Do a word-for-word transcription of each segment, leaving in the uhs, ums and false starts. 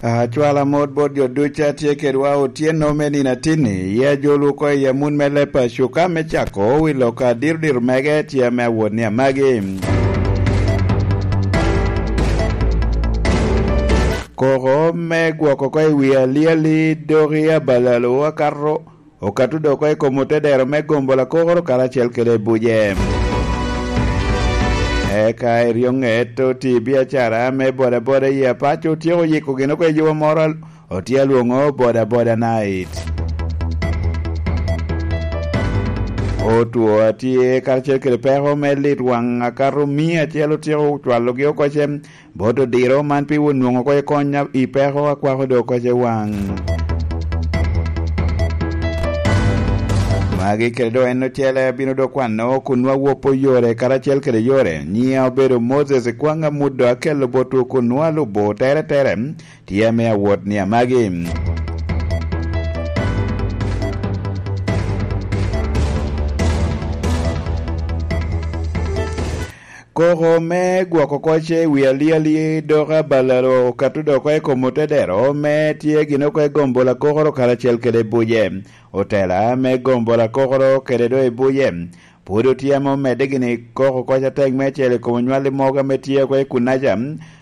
Acwala mot bot jo ducu a tye kedwa otyeno me nino atinni, i ajolwu oko i amun me leb a cuka me cako wi lok a diro diro mege tye ame awot ni amagi. Koko me gwoko oko i wi aliali doki abalalo akato okato dok oko i kom otedero me gombo lakokoro karacel kede buce. Eka eryoŋet oti biacara me bodaboda i Apaco otyeko yiko gin oko i yuba moro al-, otye alwoŋo bodaboda night. Otwo atye karacel kede peko me lit waŋ akato mia acel otyeko cwalogi oko ce bot odiro man pi won nwoŋo oko i kony a-, i peko akwako dok oko ce waŋ. Magi kede dok en ocele abino dok kwano kun nwa wopo yore karacel kede yore. Nyia obedo Moses Kwaŋ Amuddo akello botwu kun nwa lubo tere tere tye ame awot ni amagi. Koko me gwoko koc i wi aliali dok abalalo okato dok oko i kom otedero me tye gin oko i gombo lakokoro karacel kede buce. Otela me gombo lakokoro kede do i buce pwod otye ame omedde gini koko koc atek me cel i kom onywal i mogo ame tye oko i kunaca,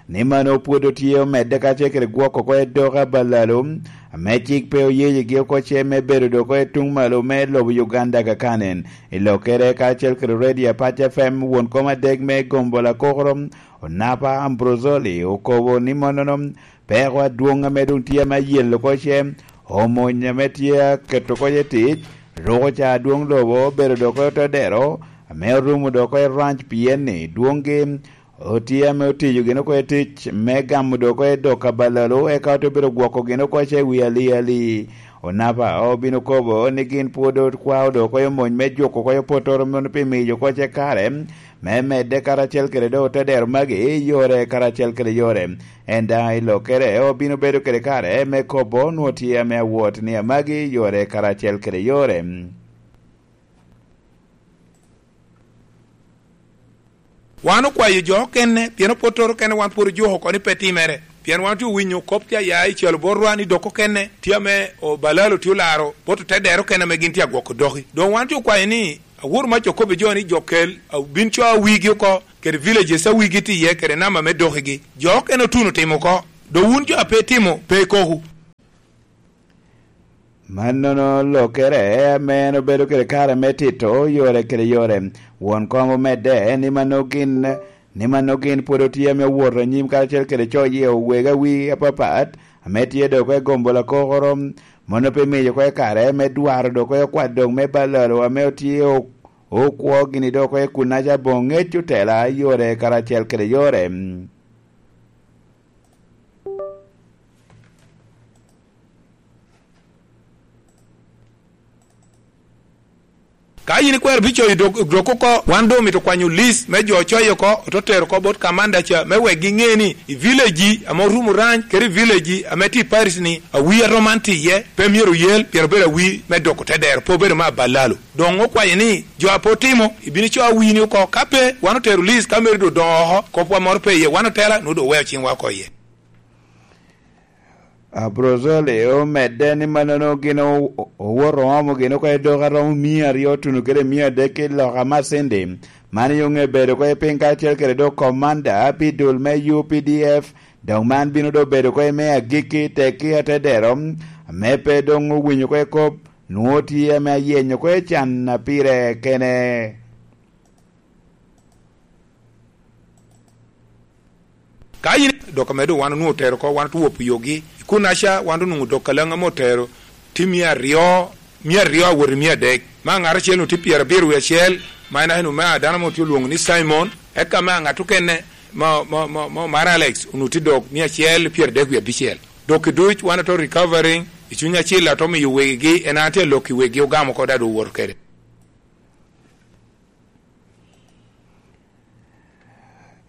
ni mano pwod otye omedde kacel kede gwoko oko i dok abalalo ame cik pe oyeyigi oko ce me bedo dok oko i tuŋ malo me lobo Uganda kakanen. I lokkere karacel kede Radio Apac F M, won kom adek me gombo lakokoro, Onapa Ambrozoli, okobo ni mannono peko adwoŋ ame doŋ tye ame ayelo oko ce, omony ame tye aketo oko ce tic, ruko ca adwoŋ lobo obedo dok oko i otodero, ame orumo dok oko i ranch pien ni dwoŋgi otye ame otiyo gin oko i tic me gamo dok oko i dok abalalo, eka ote obedo gwoko gin oko ce i wi aliali. Onapa obino kobo ni gin pwod okwao dok oko i omony me juko oko i opotoro mono pi miyo oko ce kare me medde karacel kede dok otedero magi i yore karacel kede yore. En daŋ i lokkere obino bedo kede kare me kobo nwo tye ame awot ni amagi yore karacel kede yore. Wan okwayo jo okene, pien opwottoro okene wan pwod ojuko oko ni pe timere. Pien wan otye owinyo kop tye aya i calo botwa ni dok okene tye ame obalalo tye olaro bot otedero okene ame gin tye agwoko doki. Doŋ wan otye okwayo ni awor mac okobbe jo ni jo kel, a, bin co awigi oko, kede villages awigi tye iye, kede namba me dokigi. Jo okene otuno timo oko. Doŋ wun jo a pe itimo, pe ikoku. Mannono lokere ame en obedo kede kare me tito yore kede yore. Won kom omedde ni mano gin, ni mano gin pwod otye ame owoto anyim karacel kede coyo owego awi apapat ame tye dok oko i gombo lakokoro. Mano pe miyo oko i kare me dwaro dok oko i okwadok me balalo ame otye o-, okwo gini dok oko i kunaca boŋ ŋec otela yore karacel kede yore. Ka yin ikwero bicoyo dok, dok oko, wan doŋ omito kwanyo list me jo ocoyo oko, ote tero oko bot kamanda ca, me wek giŋe ni i village ame orumo rany, kede i village ame tye i parish ni, awi aroman tye iye, pe myero oyel, pien obedo awi me doko te dero, pe obedo me abalalo. Doŋ okwayo ni, jo a pe otimo, ibino ico awini oko, ka pe, wan otero list, ka meri doŋ odoŋo oko, kopwa moro pe iye, wan otela, nwoŋo doŋ oweo ciŋwa oko iye. Abrozoli omedde ni mannono gin o-, owoto oomo gin oko i dok aromo mia aryo otuno kede mia adek i loka Masindi. Man i oŋe bedo oko i piny karacel kede dok komanda pi dul me U P D F, dok man bino dok bedo oko i me agikki tekki atedero, ame pe doŋ owinyo oko i kop, nwoŋo tye ame ayenyo oko i can a pire kene. Ka yin dok ame doŋ wan onwoŋo otero oko, wan otwopo yogi. I kunaca, wan onwoŋo dok kalaŋ ame otero tye mia aryo, mia aryo awot i mia adek. Ma ŋat acel onwoŋo tye pyerabiro wie acel, ma en aeno me a dano mo tye olwoŋo ni Simon. Eka me a ŋat okene, ma, ma, ma, ma, mar Alex, onwoŋo tye dok mia acel pyeradek wie abicel. Dok i duc, wan ato recovering, i Cuny Acil ato miyo wegigi, en an tye alok i wegi ogamo oko, dado owoto kede.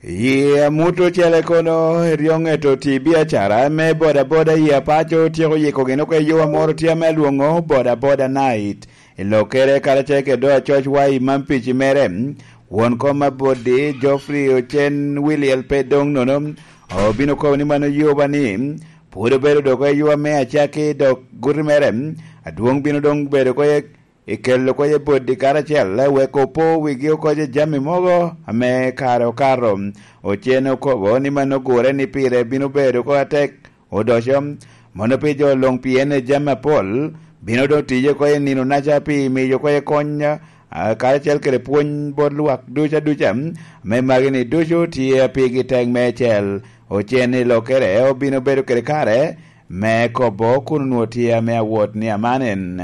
Yi amut ocele kono, eryoŋet oti biacara me bodaboda i Apaco tyeko yiko gin oko i yuwa moro tye ame alwoŋo bodaboda night. I lokkere karacel kede do acoc wa i man pici mere, won kom aboddi, Geoffrey Ocen Williel pe doŋ nono, obino kobo ni mano yuba ni, pwod obedo dok eywa me acakki, dok guti mere adwoŋ bino doŋ bedo oko i kelo oko i boddi karacel, wek opo wigi oko i jami mogo ame kare okato. Ocen okobo ni mano gure ni pire bino bedo oko atek odoco, mono pi jo luŋ, pien jami apol bino doŋ tiye oko i nino-naca pi miyo oko i kony, a, karacel kede pwony bot lwak ducu aduca, ame magi-ni ducu tye a pigi tek meicel. Ocen i lokere obino bedo kede kare me kobo kun onwoŋo tye ame awot ni aman en.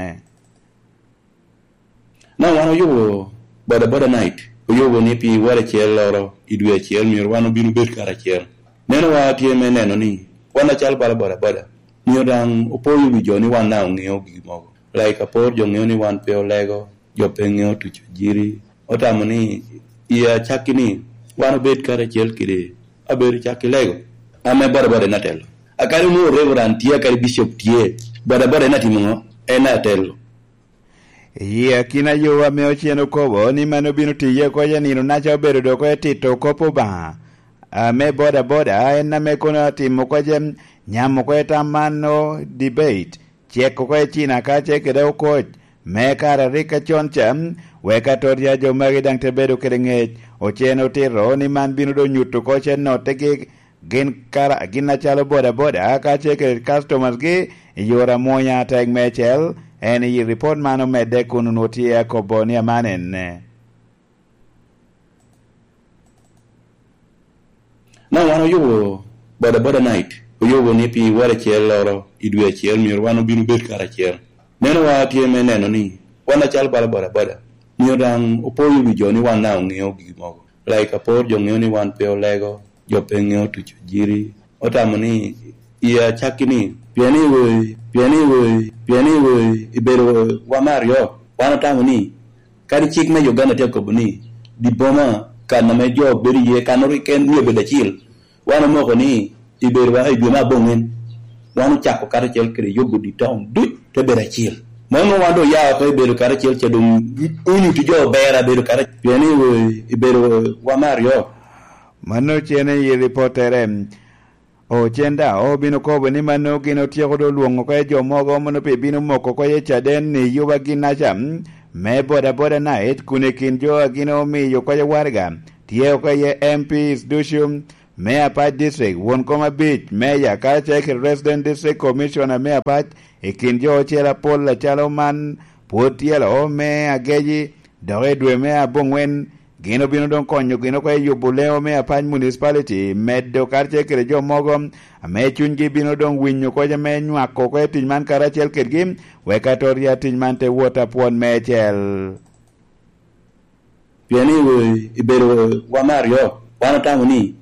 Na wan oyubo bodaboda night, oyubo ni pi wara acel loro i dwe acel myero wan obin obed karacel. Neno wa tye me neno ni wan acalo bala bodaboda, myero daŋ opoyo wi jo ni wan daŋ oŋeo gigi mogo. Like apor jo ŋeo ni wan pe olego, jo pe ŋeo tuco jiri. Otamo ni i acakki ni wan obed karacel kede abedo cakki lego. Ame bodaboda en atelo. Akadi onwoŋo Reverend tye, akadi Bishop tye, bodaboda en atimo ŋo? En atelo. I akina yo ame ocen okobo ni mano bino tiye oko i nino-naca obedo dok oko i tito kop Obaŋa. Ame bodaboda en ame kono atimo oko i nyamo oko i tam man o debate, cek oko i cina kace kede okoc me kare rik acon ca, wek atot ya jo magi daŋ te bedo kede ŋec. Ocen otito ni man bino doŋ nyuto oko i nottegi gin kara-, gin acalo bodaboda, kacel kede customers-gi i yore amwonya. Tek meicel en i ripot man omedde kun onwoŋo tye akobo ni aman enne. Na wan oyubo bodaboda night, oyubo ni pi wara acel loro i dwe acel myero wan obin obed karacel. Neno wa tye me neno ni wan acalo bala bodaboda, myero daŋ opoyo wi jo ni wan daŋ oŋeo gigi mogo. Like apor jo ŋeo ni wan pe olego, jo pe ŋeo tuco jiri. Otamo ni i acakki ni, pien iwe, pien iwe, pien iwe, ibedo wa me aryo. Wan otamo ni, kadi cik me Uganda tye akobo ni, di boma kan ame jo bedo iye, kan ori ken ni obedo acil. Wan omoko ni, ibedo wa i dwe me aboŋwen. Wan ocako karacel kede yubo di town duc te bedo acil. Mano wan doŋ oya oko i bedo karacel, ca doŋ onyutti jo ober a bedo karacel. Pien iwe, ibedo wa me aryo. Mano cene i ripottere. Ocen daŋ obino kobo ni mano gin otyeko doŋ lwoŋo oko i jo mogo mono pe bino moko oko i caden i yuba gin-naca me bodaboda night, kun i kin jo a gin omiyo oko i waraga tye oko iye M Ps ducu me Apac District, won kom abic, meya, kacel kede Resident District Commissioner me Apac. I kin jo ocel apol acalo man pwod tyelo me ageci, dok i dwe me aboŋwen gin obino doŋ konyo gin oko i yubo leŋo me Apac Municipality, medo karacel kede jo mogo ame cunygi bino doŋ winyo oko ame nywako oko i tic man karacel kedgi, wek atot ya tic man te wot apwon meicel. Pien iwe, ibedo wa me aryo. Wan otamo ni,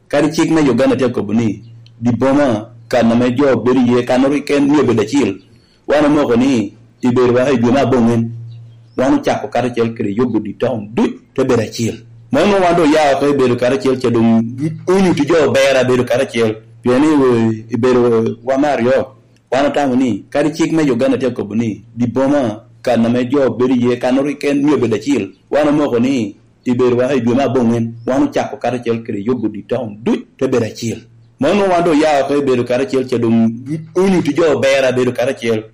kadi cik me Uganda tye akobo ni, di boma kan ame jo bedo iye, kan ori ken ni obedo acil. Wan omoko ni, ibedo wa i dwe me aboŋwen. Wan ocako karacel kede yubo di town duc te bedo acil. Mano wan doŋ oya oko i bedo karacel, ca doŋ onyutti jo ober a bedo karacel. Pien iwe, ibedo wa me aryo. Wan otamo ni, kadi cik me Uganda tye akobo ni, di boma kan ame jo bedo iye, kan ori ken ni obedo acil. Wan omoko ni, ibedo wa i dwe me aboŋwen, wan ocako karacel kede yubo di town duc te bedo acil. Mano wan doŋ oya oko i bedo karacel, ca doŋ onyutti jo ober a bedo karacel.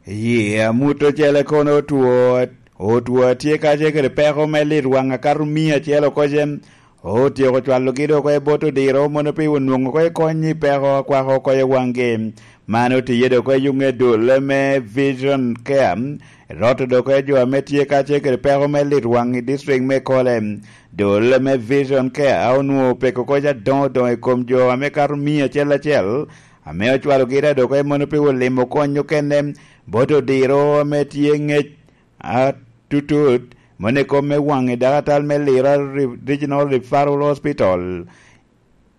Yi, amut ocele kono otwo, otwo tye kacel kede peko me lit waŋ akato mia acel oko cen. Otyeko cwalogi dok oko i bot odiro, mono pi onwoŋo oko i kony i peko a kwako oko i waŋgi. Man otiye dok oko i yuŋ edul me Vision Care, roto dok oko i jo ame tye kacel kede peko me lit waŋ i district me Kole. Dul me Vision Care onwoŋo peko oko adoŋo doŋo i kom jo ame kato mia acel acel, ame ocwalogi dok oko i mono pi olimo kony okene bot odiro ame tye ŋec atutut, mono i kom me waŋ i dakatal me Lira Re-, Regional Referral Hospital.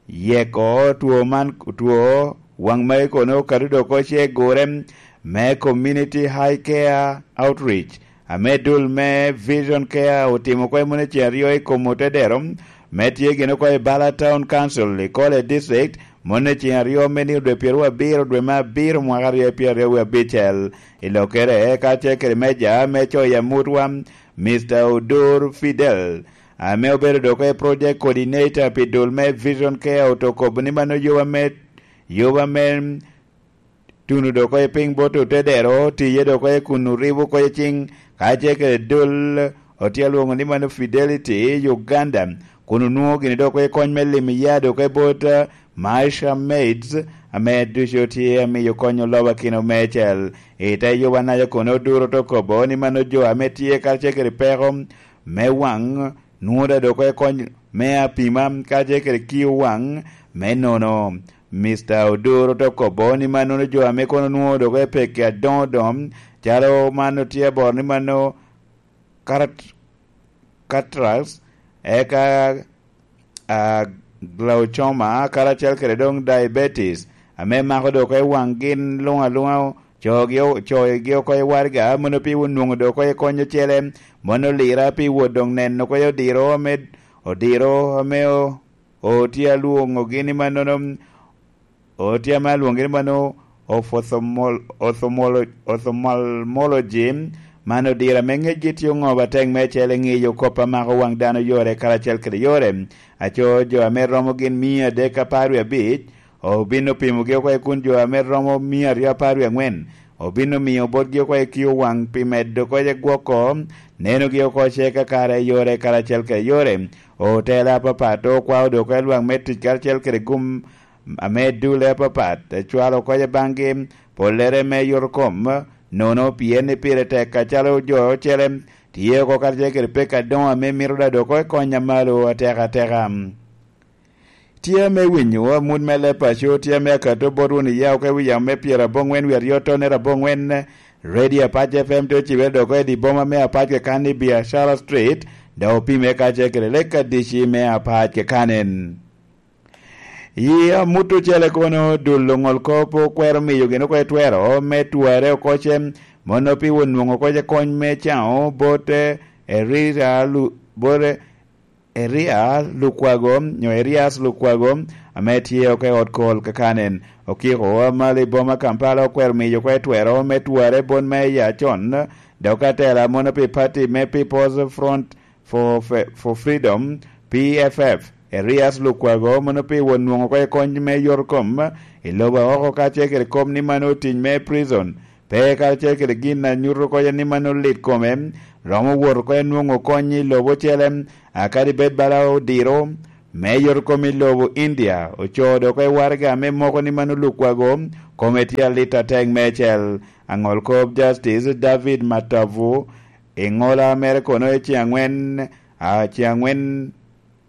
Yeko two man, two waŋ magi kono okato dok oko ce gure me Community High Care Outreach, ame dul me Vision Care otimo oko i moni ceŋ aryo i kom otedero, me tye gin oko i Bala Town Council i Kole District, moni ceŋ aryo me nino dwe pyeraryo abiro dwe me abiro mwaka aryo pyeraryo wie abicel. I lokere, kacel kede meja me coyo amutwa, Mister Odur Fidel, ame obedo dok oko i project coordinator pi dul me Vision Care, oto kobo ni mano yoba me Yoba me tuno dok oko i piny bot otedero, tiye dok oko i kun oribo oko i cing, ka ce kede dol otye alwoŋo ni mano Fidelity Uganda, kun onwoŋo gini dok oko i kony me limo ya dok oko i bot, eh, Maisha Maids, ame ducu tye amiyo kony oloba kino mecel. I te Yoba naca kono Oduro te kobo ni mano jo ame tye karacel kede peko me waŋ nwoŋo dok oko i kony me apima karacel kede kio waŋ me nono. Mister Oduro te kobo ni mannono jo ame kono nwoŋo dok i pekki adoŋo doŋo, calo man otye aboro ni mano karat-, cataracts, eka, a, glaucoma, karacel kede doŋ diabetes, ame mako dok i waŋ gin luŋ aluŋa, cogi o-, cogi oko i waraga, mono pi onwoŋo dok oko i kony ocele, mono lira pi wot doŋ neno oko i odiro ame, odiro ame o-, otye alwoŋogi ni mannono, otye ame alwoŋogi ni mano ophthalmol-, ophthalmolo-, ophthalmology, man odiro ame ŋecgi tye oŋobo atek mecel i ŋeyo kop a mako waŋ dano yore karacel kede yore. Aco jo ame romo gin mia adek apar wie abic, obin opimogi oko i kun jo ame romo mia aryo apar wie aŋwen, obin omiyo botgi oko i kio waŋ pi medo oko i gwoko nenogi oko ce kakare i yore karacel kede yore. Otela apapat okwao dok oko i lwak me tic karacel kede gum ame dule apapat, cwalo oko i baŋgi pollere me yot kom, nono pien ni pire tek acalo jo ocele tye oko karacel kede pek adoŋo ame mito dado oko i kony a malo atek ateka. Tye ame winyo amut me leb paco, tye ame akato bot wun iya oko i wi yamo me pyeraboŋwen wie aryo tonere aboŋwen, Radio Apac F M te ocibere dok oko i di boma me Apac keken i Biashara Street, dok opime karacel kede lek adici me Apac keken. Yi amut ocele kono dul oŋol kop okwero miyo gin oko i twero me twarre oko ce, mono pi onwoŋo oko ce kony me caŋo bot, eh, Erira Lu-, bot, eh, Eria Lukwago, nyo Erias Lukwago, ame tye oko i ot kol kakanen. Okiko a malo i boma Kampala okwero miyo oko i twero me twarre bot me ya con, dok atela mono pi party me People's Front for Fe-, for Freedom, P F F, Erias Lukwago, mono pi won nwoŋo oko i kony me yor kom i lobo oko kacel kede kop ni mano tic me prison, pe karacel kede gin a nyuto oko ni mano lit kome, romo wot oko i nwoŋo kony i lobo ocele, a kadi bed bala odiro, me yor kom i lobo India, ocoo dok i waraga me moko ni mano Lukwago, kome tye alit atek mecel. Aŋol kop Justice David Matavu, i ŋola mere kono i ceŋ aŋwen, a, ceŋ aŋwen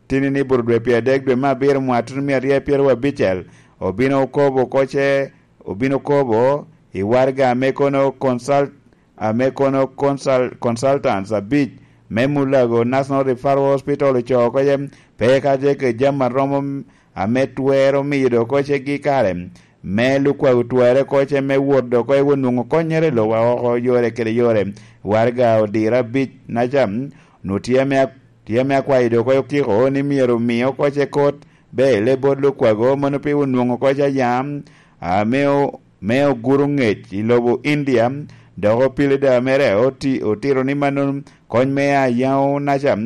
tini ni bur dwe pyeradek dwe me abiro mwattono mia aryo pyeraryo abicel, obino kobo oko ce, obino kobo i waraga ame kono consult-, ame kono consult-, consultants abic me Mulago National Referral Hospital ocoo oko ce, pe ka ce ke jami aromo ame twero miyo dok oko ce gi kare. Me Lukwago twarre oko ce me wot dok oko i onwoŋo konnyere i lobo oko yore kede yore. Waraga odiro abic naca, nu tye ame, tye ame akwayo dok oko okiko ni myero omi oko ce kot bele bot Lukwago, mano pi onwoŋo oko ce yam, a, me o-, me oguro ŋec i lobo India, dok opilida mere oti-, otito ni mano kony me ayaŋo naca,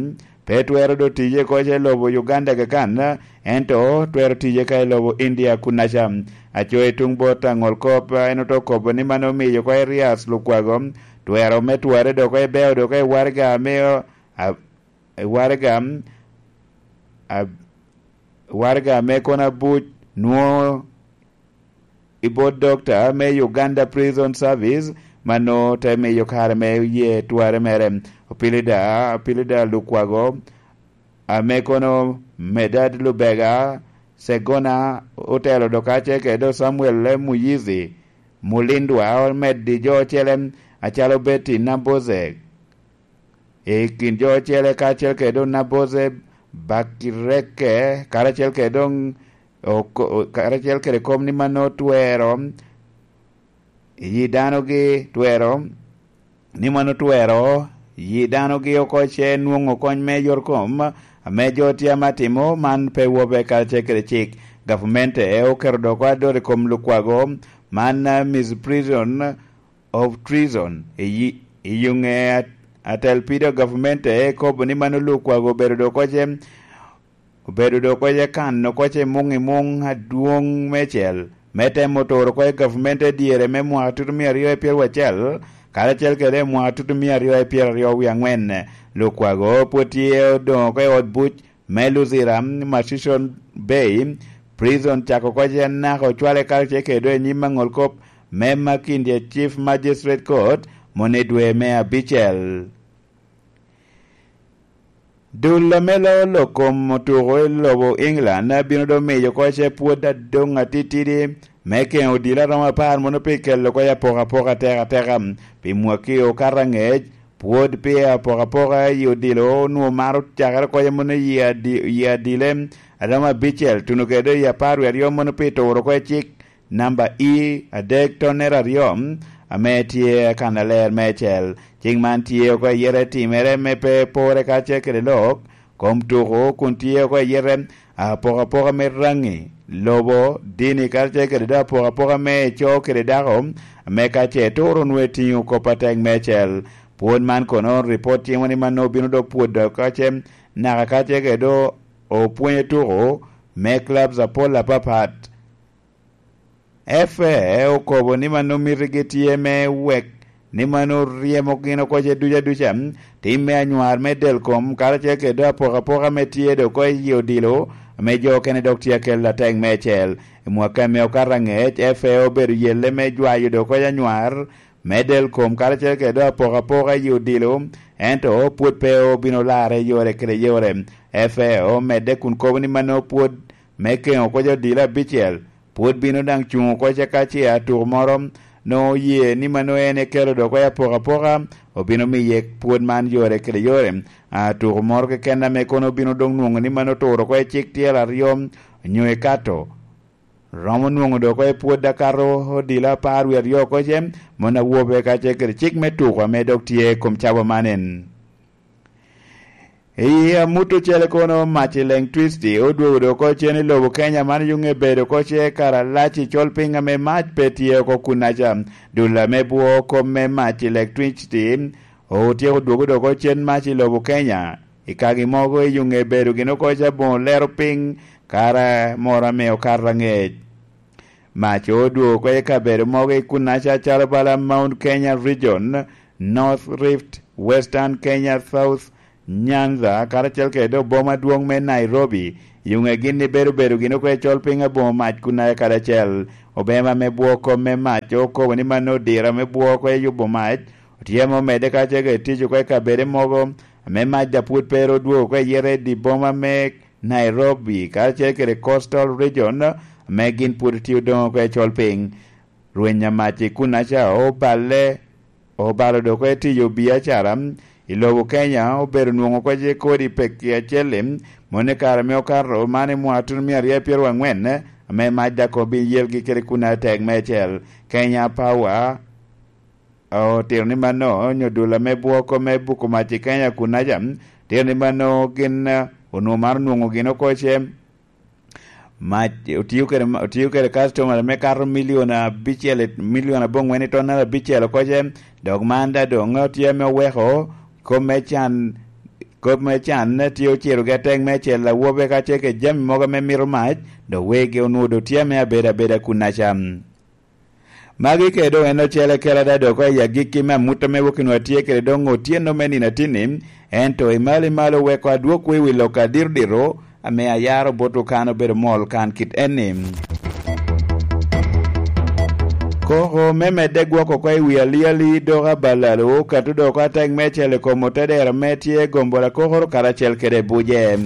pe twero do tiye oko ce lobo Uganda keken, ento twero tiye ka i lobo India kunnaca. Aco i tuŋ bot aŋol kop, en oto kobo ni mano omiyo oko Erias Lukwago twero me twarre dok oko i beo dok oko i waraga ame, a, i waraga, a, waraga ame kono abuc nwoŋo i bot dokta me Uganda Prison Service, mano te miyo kare me ye twarre mere. Opilida, Opilida Lukwago, ame kono Medad Lubega, Segona, otelo dok ace kede Samuel Muyizi, Mulindwa, omeddi jo ocele acalo Betty Nambose, i kin jo ocele kacel kede doŋ Nabose Bakireke, karacel kede doŋ oko-, karacel kede kop ni mano twero, yi danogi twero, ni mano twero, yi danogi oko ce nwoŋo kony me yor kom, ame jo tye ame atimo man pe wobe karacel kede cik. Gavmente oketo dok adot i kom Lukwago man, eh, misprision of treason, i, i yuŋe at-, atel pido gavmente ekobo ni mano Lukwago obedo dok oce, obedo dok oce kan oko ce muŋ i muŋ adwoŋ mecel. me temo turo oko i gavmente dyere me mwaka tutumia aryo i pyeraryo acel, karacel kede i mwaka tutumia aryo i pyeraryo wie aŋwen. Lukwago pwod tye odoŋo oko i ot buc me Luzira, Murchison Bay Prison, cako oko ce naka ocwale karacel kede i nyim aŋol kop me Makindye Chief Magistrate Court mono i dwe me abicel. Dul ame loo lok kom otuko i lobo England bino doŋ miyo oko ce pwod adoŋ atitidi me keŋo odilo a romo apar mono pi kelo oko apokapoka atekateka pi mwaki okato aŋec. Pwod pi apokapoka i odilo onwoŋo maro cakere oko mono i adi-, i adile a romo abicel tuno kede i apar wie aryo mono pi turo oko cik namba E adek tonnere aryo, ame tye kannaler meicel. Cik man tye oko ayete timere me pe pore karacel kede lok kom tuko, kun tye oko ayete apokapoka me raŋi, lobo, dini, karacel kede do apokapoka me co kede dako, ame ka ce turo nwe tiŋo kop atek meicel. Pwod man kono, ripot timo ni mano bino dok pwod dok ka ce naka karacel kede do opwonyo tuko me clubs apol apapat. F A okobo ni mano mitigi tye me wek ni mano ryemo gin oko ce duca duca, tim me anywar me del kom, karacel kede apokapoka me tye do oko i odilo, ame jo okene dok tye akel atek meicel. I mwaka ame okato aŋec, F A obedo yelle me jwayo do oko anywar me del kom, karacel kede apokapoka i odilo, ento pwod pe obino larre yore kede yore. F A omedde kun kobo ni mano pwod me keŋo oko odilo abicel, pwod bino daŋ cuŋ oko ce ka ce atuko moro nwoŋo oye ni mano en ekelo dok oko apokapoka, obino miye pwod man yore kede yore. Atuko moro keken ame kono obino doŋ nwoŋo ni mano oturo oko i cik tyel aryo nyo ikato, romo nwoŋo dok oko i pwod akato odilo apar wie aryo oko ce, mon awobe ka ce kede cik me tuko ame dok tye i kom cabo man en. I amut ocele kono, mac i Leng Twisti odwogo dok oko cen i lobo Kenya. Man yuŋ ebedo oko ce karalac i col piny ame mac pe tye oko kunnaca. Dul ame bwo kom me mac i Leng Twisti otyeko dwogo dok oko cen mac i lobo Kenya. I kagi mogo i yuŋ ebedo gin oko ca boŋo lero piny kara moro ame okato aŋec. Mac odwogo oko i kabedo mogo i kunnaca calo bala Mount Kenya Region, North Rift, Western Kenya, South Nyanza, karacel kede oboma adwoŋ me Nairobi. Yuŋe gin ni bedo bedo gin oko i col piny aboŋo mac kunnaca kadi acel. Obema me bwo kom me mac okobo ni mano odira me bwo oko i yubo mac otye ame omedde karacel kede tic oko i kabede mogo ame mac da pwod pe ru odwogo oko i yete i di boma me Nairobi, karacel kede Coastal Region, ame gin pwod tye odoŋo oko i col piny. Rweny amac i kunnaca oballe, obalo dok oko i tiyo biacara i lobo Kenya, obedo nwoŋo oko ce kodi pekki acel-li, moni kare ame okato man i mwaka tuno mia aryo pyeraryo angwen, ame mac da kono bin yelgi kede kunnaca tek meicel. Kenya Power otito ni mano, onyo dul ame bwoko me buko mac i Kenya kunnaca, tito ni mano gin, eh, onwoŋo maro nwoŋo gin oko ce mac, otio kede ma-, otio kede customer me kato milion abicel, milion aboŋwen i tonnere abicel oko ce, dok man da doŋ tye ame oweko kop me can, kop me can tye ociro gi atek meicel awobe ka ce kede jami mogo ame mito mac, dok wegi onwoŋo dok tye ame abedo abeda kunnaca. Magi kede doŋ en ocele kela da dok i agikki me amut ame wok inwa tye kede doŋ otyeno me nino atinni, ento i malo i malo weko adwokwu i wi lok adito dito ame ayaro bot okan obedo mol kan kit enni. Koko me medde gwok oko i wi aliali dok abalalo okato dok atek me cele kom otedero me tye gombo lakokoro karacel kede buje.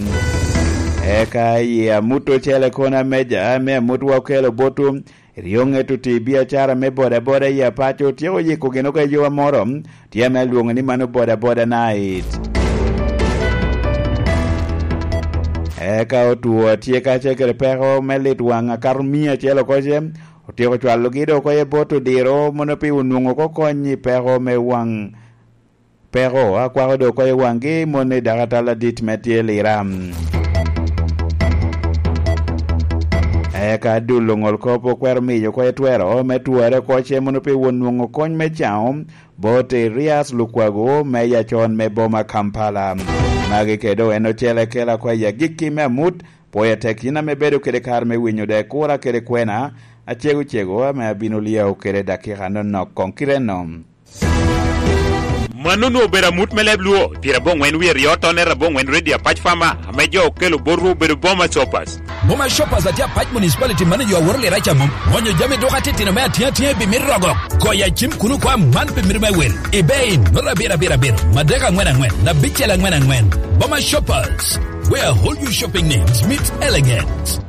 Eka i amut ocele kono ameja me amut wa okelo botwu, Ryo ŋet oti biacara me bodaboda i Apaco otyeko yiko gin oko eyowa moro, tye ame alwoŋo ni mano bodaboda night. Eka otwo tye kacel kede peko me lit waŋ akato mia acel oko ce, otyeko cwalogi dok oko i bot odiro mono pi onwoŋo oko kony i peko me waŋ peko, akwako dok oko i waŋgi moni dakatal adit me tye Lira. Eka dul oŋol kop okwero miyo oko i twero me twere oko ce mono pi won nwoŋo kony me caŋo bot Erias Lukwago me yacon me boma Kampala. Magi kede en ocele kela oko i agikki me amut, pwoyo tek yin ame bedo kede kare me winyo de kura kede kwena, Acego cego ame abino lyao kede dakika nonok koŋ kite nom. Mano onwoŋo obedo amut me leb Luo, pyerabongwen wie ryo, tonere abongwen, Radio Apac Farmer, ame jo okelo botwu obedo Boma Shoppers. Boma Shoppers a tye Apac Municipality, mano jo aworo lira ca mom. Onyo jami duka titino me atiŋ atiŋ i bimit rogo. Goyo acim kuno kwa man pi mito me wil. Ibe in, nota abiro abiro abiro, madek angwen angwen, abicel angwen angwen. Boma Shoppers, where all your shopping needs meet elegance.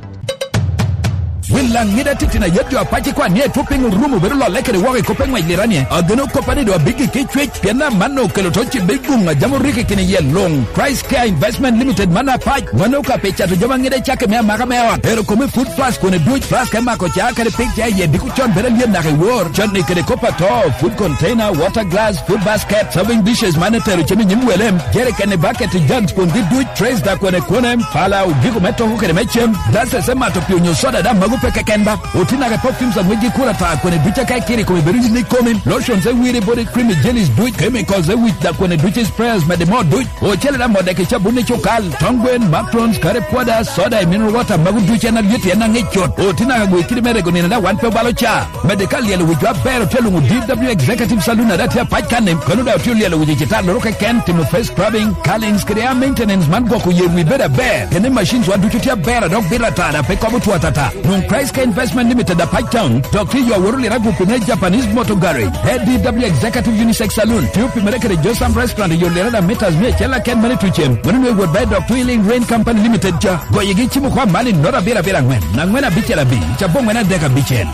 Wil Laŋida titino ayet jo Apac ikwan ni etwo piny orumo bedo lolle kede woko i kop eŋwec liranie. Ageno koppa ni do abiggi ki cwec, pien amanno okelo to cibbe i guŋ a jam oriki kini yie luŋ. Christ Care Investment Limited man Apac, wano ka pi cato jami aŋida i cakke me amaka me ot. Ero kome food flask kone duc, flask me mako ca kede pig ca iye diko con bedo alyet naka i wor. Con ni kede kop ato, food container, water glass, food basket, serving dishes man etero cem i nyim welem, jerikeni, bucket, jugs kun gi duc, trays da kone kone, pala, ogiko me toko kede me cem, glasses me mato pi onyo soda da mago pe keken ba. Oti naka perfumes a ŋwec gi kura ta kone duc aka ikiri kome bedo yin ikomi, lotions e wiri body cream, jellies duc, chemicals e wic da kone duc, sprayers mede mo duc. Ocele da modde ki cabun i cukal, tong gwen, matrons, kare pwoda, soda, i mineral water, mago duc en alyet en aŋic cut. Oti naka gwe kidi me rego nino da wan pe obalo ca. Mede ka lyelo wic aber otye luŋo D W Executive Saloon ada tye Apac kan ni, kano da otye lyelo wic i citar loro keken, timo face scrubbing, curlings, kede hair maintenance man gwoko yer wi bedo aber. Kene machines wa ducu tye aber a dok bito atada pe kobo two atata. Nwoŋ Christ Care Investment Limited Apac Town, dok tye yo aworo lira gupi me Japanese Motor Garage, A D W Executive Unisex Saloon, tye opimere kede Josam Restaurant i yo lira da meters mia acel aken mane tucem. Mano nwe wot ba i dok Twilling Rain Company Limited ca. Goyigi cimo kwa mali nota abiro abiro angwen, angwen abicel abic, cabongwen adek abicel.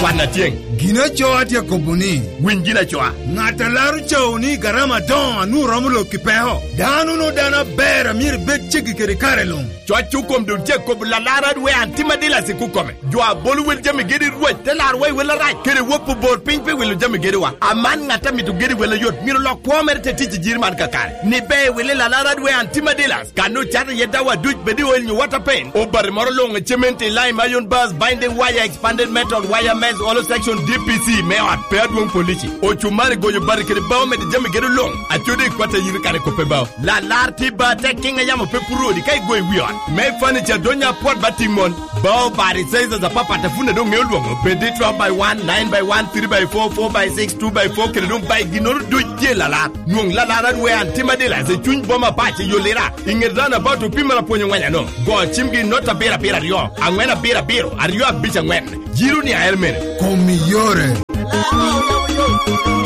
Kwan atyeŋ. Gin acoa tye akobo ni, winy gin acoa. Ŋat a laro cawo ni garama adoŋo a nwoŋo romo lok i peko. Dano no dano aber a myero ibed ceggi kede kare luŋ. Cwac okom dul tye akobo lalar adwe antima dila sik okome. Jo a bolo wel jami gedi rwec te laro wa i wel arac, kede wok obor piny pe wilo jami gedi wa. Aman ŋat a mito gedi wel ayot myero lok kwo mere te tic i jiri man kakare. Ni be wili lalar adwe antima dila. Kan ocato iye dawa duc bed i oil nyo water paint. Obati moro luŋ i cement i lime iron bars, binding wire, expanded metal, wire mesh, hollow section, D P C me ot, pe adwoŋ polici. Ocumari goyo bati kede bao mede jami gedo luŋ. Acodi i kwat a yiri kare kope bao. Lalar ti ba te kiŋ a yamo pe puro odi ka igoyo i wi ot. Me furniture donya apwot ba tiŋ mon. Bao bati sizes apapat a funda doŋ ŋeo lwoŋo. Bed i twelve by one, nine by one, three by four, four by six, two by four, kede doŋ by ginnoro duc tye lalar. Nwoŋ lalar adwe antima dealers i cuny boma pac i Yolira, i ŋet roundabout opimere apwony angwen ano. Go cimgi i nota abiro abiro aryo, angwen abiro abiro, aryo abic angwen. Jiro ni ael mene. Kom i yore.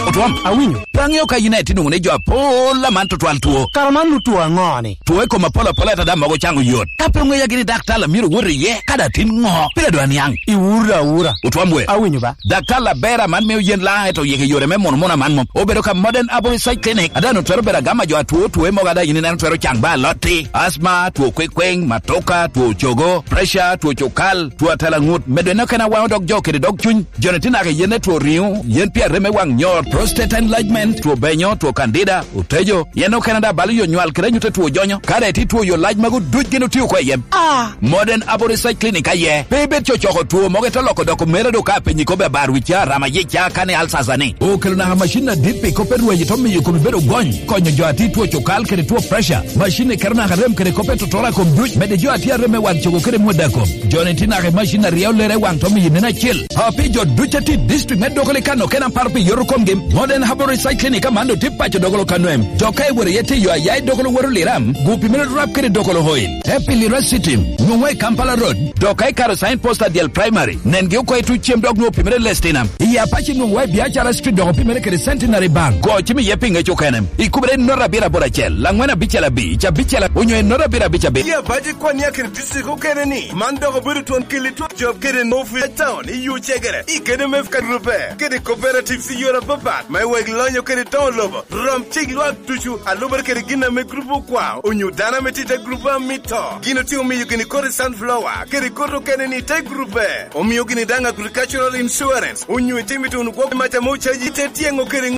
Otwom, awinyo. Pe aŋeo ka yin aye tye nwoŋo ni jo apol aman tutwal two. Kara man nu two aŋo ni? Two i kom apol apol ata da mogo caŋo yot. Ka pe oŋeya gini dak tala myero wot iye, ka da tin ŋo? Pire dwa niaŋ. Iwura awura. Otwom we. Awinyo ba. Daktar Labera man mio yen laŋ eto yeke yore me mono mono aman mom. Obedo ka Modern Aboriginal Clinic. Ada no twero bedo agama jo atwo twoe mogo ada yin ineno twero caŋ ba alotti, asma, two kwekweŋ, matoka, two cogo, pressure, two cukal, two atela ŋut, medo eno kena waŋo dog jo kede dog cuny. Joni tye naka yen etwo riŋo, yen pi areme waŋ nyor, prostate enlargement, two benyo, two candida, otejo, yen okene da balo yo nywal kede anyut etwo jonyo. Kare ti two yo lac mago duc gin otio ko i yem. Ah! Modern Aboriginal Clinic aye. Pe ibed cocoko two mogo ito loko doko mere do ka penyi kobe abar wi ca rama ye ca kane alsasa ni. Okelo naka macin adit pi kope rwenyo to miyo komi bedo gony. Konyo jo ati two cukal kede two pressure. Macin ni keto naka rem kede kope totora kom duc. Mede jo ati arem me wan cogo kede mwada kom. Joni ti naka i macin aryo lere wan to miyo nene acil. Api jo duc ati district me doko likano kena par pi yoto komgi. Modern Herbal Recycling Clinic amando ti paco dogolo kanwem. Dok ka iwero ye tiyo aya i dogolo woro liram, gupi mere rap kede dogolo oil. Happy Lira City, nwoŋwa i Kampala Road. Dok ka ikaro sign post adyel primary, nen gi oko i tuc cem dok nwoŋo pimere lestinam. I Apache nwoŋwa i Biacara Street dok opimere kede Centenary Bank. Go cim iye pi ŋec okene. Ikubere i nota abiro aboro acel, angwen abicel abic, abicel a-, onyo i nota abiro abic abiro. I Apache kwan i akiri district okene ni, man dok obedo twon kili twon job kede no free town i yo cegere. I kede me ka rube, kede cooperatives i yore apapat, me wek lonyo kede toŋo lobo. Rom cik lwak ducu, a lubere kede gin ame grup okwao, onyo dano ame tye i te grup a mito. Gin otye omiyo gini kodi sunflower, kede kodi okene ni te grup e. Omio gini daŋ agricultural insurance, onyo itimo ito wunu gwok maca mo caji te tyeŋo kede